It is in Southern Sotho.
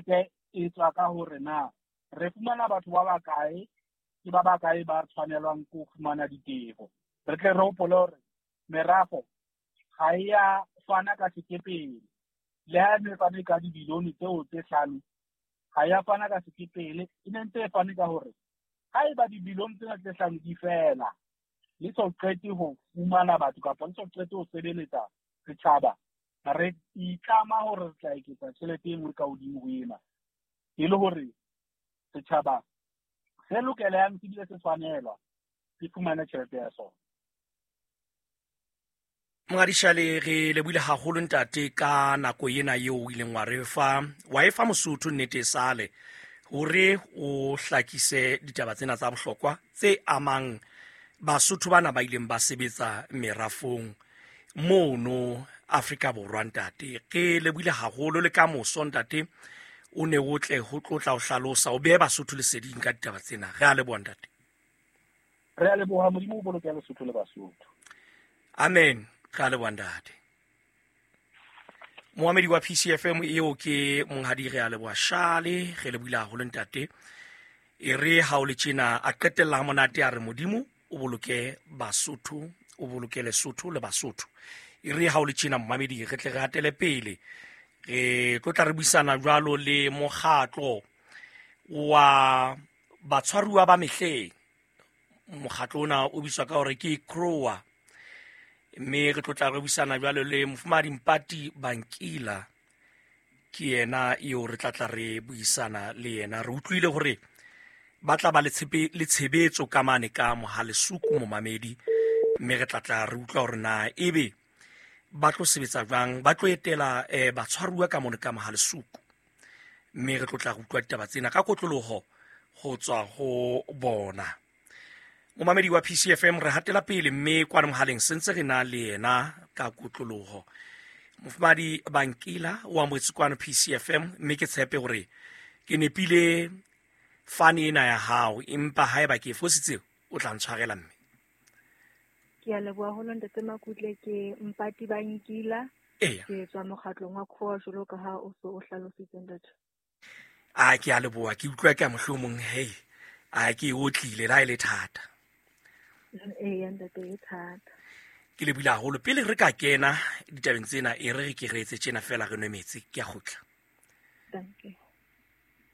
Tjhelete e tswa ka hore na re fumana batho ba bakae, ke ba bakae ba tshwanelwang ke ho fumana ditefo. Re tle re hopole hore merafo ga e ya fana ka sekepele, le ha e ne fane ka dibilione tseo tse 5, ga ya fana ka sekepele, e ne ntse e fane ka hore ha eba dibilione tsena tse 5 di fela, le so qete ho fumana batho kapa le so qete ho sebeletsa setjhaba, re itlama hore re tla eketsa tjhelete e nngwe ka hodimo ho ena, e le hore setjhaba se lokelehang se bile se tshwanelwa se fumane tjhelete ya sona. Mongadishale, re lebohile haholo ntate ka nako ena eo o ileng wa re fa, wa e fa Mosotho nnete e sale hore o hlakise ditaba tsena tsa bohlokwa tse amang Basotho bana ba ileng ba sebetsa merafong mono Afrika Borwa. Ntate, re lebohile haholo, le ka moso ntate o ne o tle ho tlotla o hlalosa o behe Basotho leseding ka ditaba tsena. Re a leboha ntate. Re a leboha, Modimo o boloke Lesotho le Basotho. Amen. Re a leboha ntate. Moamedi wa PCFM eo ke monghadi Re a leboha Shale, re lebohile haholo ntate. E re ha o le tjena a qetella ha monate a re Modimo o boloke Basotho, o boloke Lesotho le Basotho. E re ha o le tjena momamedi re tle re hatele pele, re tlo tla re buisana jwalo le mokgatlo wa batshwaruwa ba mehleng. Mokgatlo ona o bitswa ka hore ke CROA, mme re tlo tla re buisana jwalo le mofumahadi Mpati Bankila, ke yena eo re tla tla re buisana le yena. Re utlwile hore ba tla ba le tshebetso ka mane ka Mohalesuku momamedi, mme re tla tla re utlwa hore na ebe ba tlo sebetsa jwang, ba tlo etela batshwaruwa ka mone ka Mohalesuku, mme re tlo tla re utlwa ditaba tsena ka kotloloho ho tswa ho bona. Momamedi wa PCFM, re hatela pele mme kwana mohaleng sentse re na le yena ka kotloloho. Mofumahadi Bankila o amohetse kwano PCFM, mme ke tshepe hore ke nepile fane ena ya hao, empa haeba ke e fositse o tla ntshwarela mme. Ke a leboha haholo ntate Makutle, ke Mpati Bankila. Eya. Ke tswa mokgatlong wa CROA jwalo ka ha o so o hlalositse ntate. A ke a leboha, ke utlwa ke a mohlomong hei, a ke o tlile la e le thata. Eya ntate, e thata. Ke lebohile haholo. Pele re ka kena ditabeng tsena, e re re ke re etse tjena fela re nwe metsi, ke a kgutla. Thank you.